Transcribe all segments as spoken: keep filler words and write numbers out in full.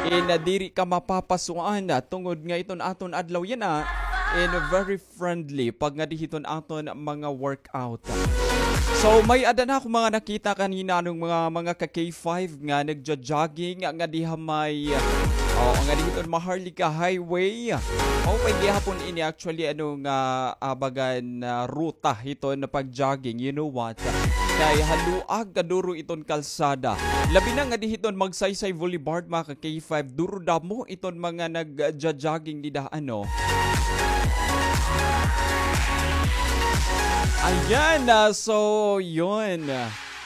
in, ah, diri ka mapapasuan, ah, tungod nga iton aton adlaw yana in very friendly pag ngadi hiton aton mga workout. So, may-ada na ako mga nakita kanina, ano, mga, mga ka K five nga nagja-jogging nga diha may, ah, oo, ngadi hiton Maharlika Highway. Maupay gihapon ini actually, ano, nga, ah, bagan, ah, ruta hiton pag-jogging. You know what? Kay haluag kaduro iton kalsada. Labi na ngadi hiton Magsaysay Boulevard, mga ka K five. Duro damo iton mga nagja-jogging dida, ano. Ayan, ah, so, yun.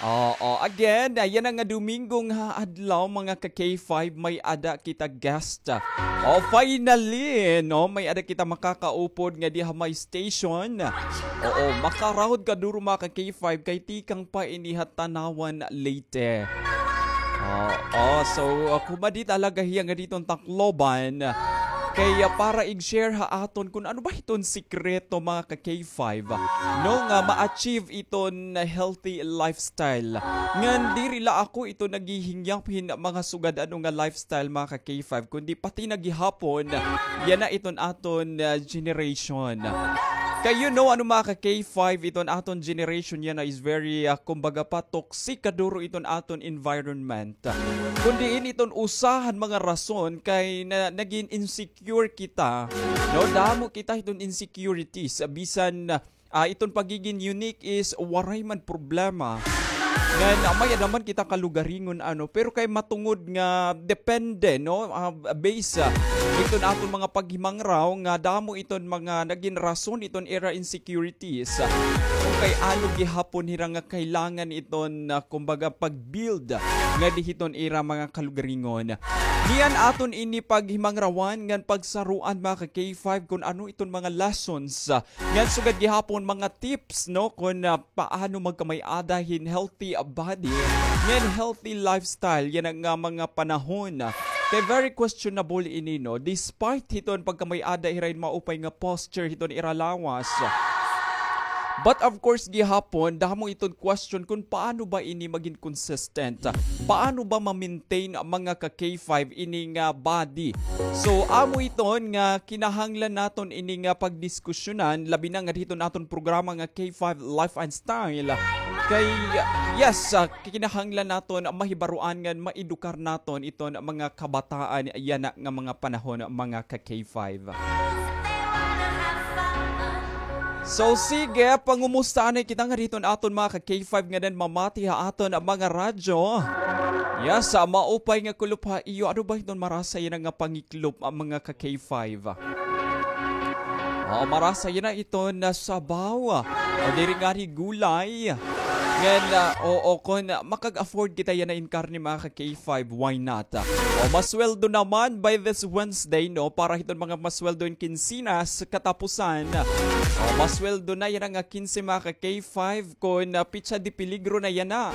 Oo, again, ayan nga Domingo nga adlaw, mga ka K five, may-ada kita guest. Oh, finally, no, may-ada kita makakaupod nga diha may station. Oo, makarahod kaduro, mga ka K five, kay tikang pa ini ha Tanauan, Leyte. Oo, so, ah, kumadi talaga hiya nga diton Tacloban. Kay, ah, para ig-share ha aton kun ano ba hiton sikreto, mga ka K five, no, nga ma-achieve iton healthy lifestyle. Ngan diri la ako ito naghihingyap hin mga sugad ano nga lifestyle, mga ka K five, kundi pati na gihapon yana iton aton, ah, generation. Kay you know, ano, mga ka K five, iton aton generation yana is very, ah, kumbaga pa, toxic kaduro iton aton environment. Kun diin iton usa han mga rason kay na, nagin insecure kita, no? Damo kita hiton insecurities, bisan, ah, iton pagigin unique is waray man problema. Ngan, ah, may-ada man kita kalugaringon, ano, pero kay matungod nga depende, no? Ah, base, ah, iton aton mga paghimangraw nga damo iton mga nagin rason iton ira insecurities. Kun kay ano gihapon hira nga kailangan iton, ah, kumbaga, pag-build ngadi hiton ira mga kalugaringon. Niyan aton ini paghimangrawan ngan pagsaruan, mga ka K five, kun ano iton mga lessons, ah, ngan sugad gihapon mga tips, no, kun, ah, paano magkamay-ada hin healthy body ngan healthy lifestyle yana nga mga panahon. Kay very questionable ini, no, despite hiton pagkamay-ada hira hin maupay nga posture hiton ira lawas. But of course, gihapon, damo iton question kun paano ba ini magin consistent? Paano ba ma-maintain, mga ka K five, ini nga body? So, amo iton nga kinahanglan naton ini nga pagdiskusyonan, labi na nga hiton aton programa nga K five Life and Style. Kay, yes, ah, kinahanglan naton mahibaroan ngan maedukar naton iton mga kabataan yana nga mga panahon, mga ka K five. So, sige, pangumusta anay kita ngadi hiton aton mga ka K five nga nanmamati ha aton mga radyo. Yes, ah, maupay nga kulop ha iyo. Ano ba hiton marasa yana nga pangiklop, ah, mga ka K five? Oo, marasa yana iton sabaw. O diri ngani gulay. Ngan, ah, oo, kun makag-afford kita yana in karne, mga ka K five, why not? O, masweldo naman by this Wednesday, no? Para hiton mga masweldo in kinsinas, katapusan. O, masweldo na yana nga kinse, mga ka K five, kun, ah, petsa de peligro na yana.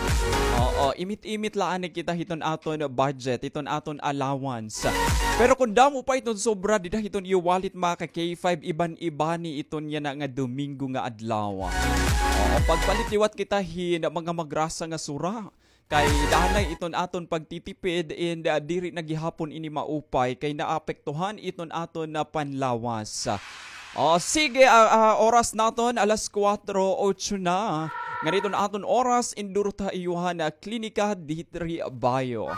Oo, imit-imit la anay kita hiton aton budget, hiton aton allowance. Pero kun damo pa iton sobra dida hiton iyo wallet, mga ka K five, iban-ibani iton yana nga Domingo nga adlaw. Oo, pagpalit liwat kita hin mga magrasa nga sura. Kay danay iton aton pagtitipid and, ah, diri na gihapon ini maupay kay naapektuhan iton aton nga panlawas. O, sige, ah, ah, oras naton alas kuwatro otso na. Ngan iton aton oras, indurot ha iyo han, ah, Klinika Diri Bayo.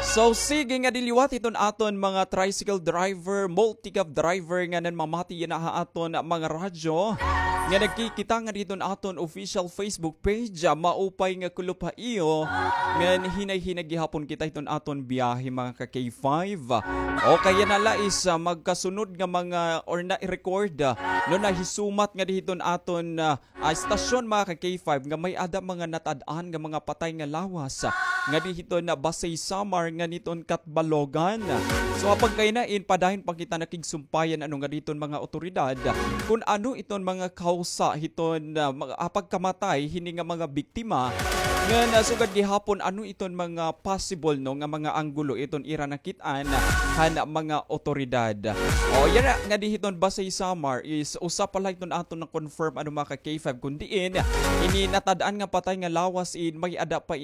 So, sige ngadi liwat iton aton mga tricycle driver, multicab driver nga nanmamati yana ha aton mga radyo, nga nagkikita ngadi hiton aton official Facebook page, ah, maupay nga kulop ha iyo, ngan hinay-hinay gihapon kita hiton aton biyahe, mga ka K five. O kaya na la is, ah, magkasunod nga mga, or na-record, ah, no, nahisumat ngadi hiton aton, ah, ah, estasyon, mga ka K five, nga may-ada mga natad-an nga mga patay nga lawas, ah, ngadi hiton Basey, Samar, ngan hiton Catbalogan. So, ha pagkaina in, padayon pa kita nakigsumpayan, ano, ngadi hiton mga otoridad, kun ano iton mga kawsa hiton, ah, mga, ah, pagkamatay hini nga mga biktima. Ngan, ah, sugad gihapon, ano iton mga possible, no, nga mga anggulo iton ira nakit-an han mga otoridad. O, yana ngadi hiton Basey, Samar is usa pa la iton aton na-confirm, ano, mga ka K five, kun diin ini natad-an nga patay nga lawas in may-ada pa